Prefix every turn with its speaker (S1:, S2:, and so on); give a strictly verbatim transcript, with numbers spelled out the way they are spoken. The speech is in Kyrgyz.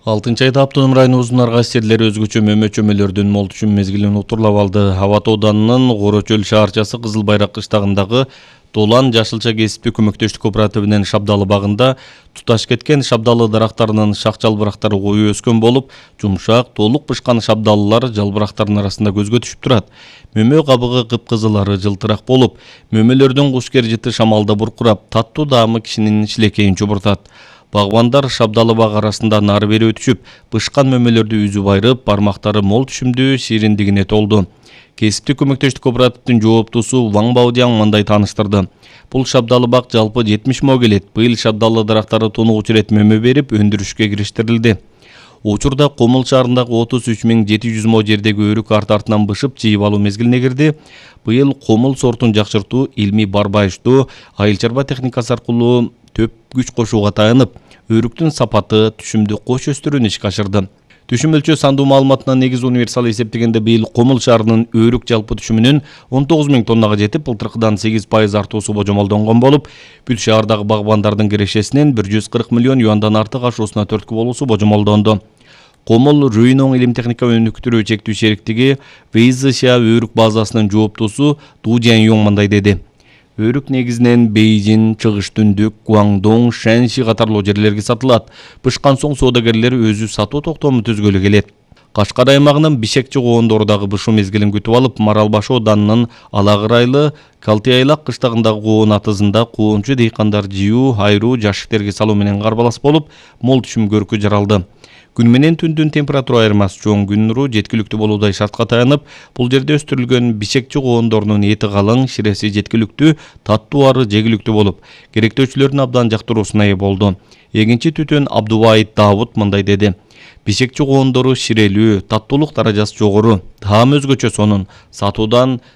S1: алтынчы айда Автоном районубуздун Аргас жерлери өзгөчө мөмө-чөмөлөрдүн мол түшүм мезгилин утурлап алды. Абат ауданынын Корочөл шаарчасы Кызыл Байрак кыштагындагы Долан жашылча кесиптүү көмөктөштүк кооперативинин Шабдалы багында туташ кеткен шабдалы дарактарынын шак-жалбырактары коюу өскөн болуп, жумшак, толук бышкан шабдалылар жалбырактардын арасында көзгө түшүп турат. Мөмө кабыгы кыпкызылары жылтырак болуп, мөмөлөрдүн кушкер жыты шамалда буркурап, таттуу даамы кишинин шилекейин чубуртат. Багбандар шабдалы бак арасында нары бери өтүшүп, бышкан мөмөлөрдү үзүп айрып, бармактары мол түшүмдүү шириндигине толду. Кесиптик көмөктөштүк кооперативдин жооптусу Ваң Баудяң мындай тааныштырды. Бул шабдалы бак жалпы жетимиш мо келет. Быйыл шабдалы дарактары тонугучу ирет мөмө берип, өндүрүшкө кириштирилди. Учурда Комул шаарындагы отуз үч миң жети жүз мо жердеги өрүк арт артынан бышып жыйып алуу мезгилине кирди. Быйыл Комул сортун жакшыртуу, илмий барбайыштуу, айыл чарба техникасы аркылуу төп күч кошууга таянып, өрүктүн сапаты, түшүмдү кош өстүрүүнү ишке ашырды. Түшүм өлчөө сандуу маалыматына негиз универсал эсептегенде быйыл Комул шаарынын өрүк жалпы түшүмүнүн он тогуз миң тоннага жетип, былтыркыдан сегиз пайыз артуусу божомолдонгон болуп, бүт шаардагы багбандардын кирешесинин бир жүз кырк миллион юандан артык ашуусуна түрткү болуусу божомолдонду. Комул Рүйнөң илим техника өнүктүрүү чектүү шериктиги Вейзыша өрүк базасынын жооптусу Ду Жан-Юң мындай деди. Өрүк негизинен Бейжин, Чыгыш Түндүк, Гуаңдоң, Шэньши катарлуу жерлерге сатылат. Бышкан соң соодагерлер өзү сатуу токтому түзгөлү келет. Кашкар аймагынын Бишекчи коондору дагы бышуу мезгилин күтүп алып, Маралбаш ауданынын Алагырайлы Калтыайлак кыштагындагы коон атызында коончу дыйкандар жыюу, айруу, жашиктерге салуу менен карбалас болуп, мол түшүм көркү жаралды. Күн менен түндүн температура айырмасы чоң, күн нуру жеткиликтүү болуудай шартка таянып, бул жерде өстүрүлгөн бишекчи коондорунун эти калың, ширеси жеткиликтүү, таттуу ары жегиликтүү болуп, керектөөчүлөрдүн абдан жактыруусуна ээ болду. Эгинчи түтүн Абдубайыт Давут мындай деди. Бишекчи коондору ширелүү, таттуулук даражасы жогору, таам өзгөчө сонун, сатуудан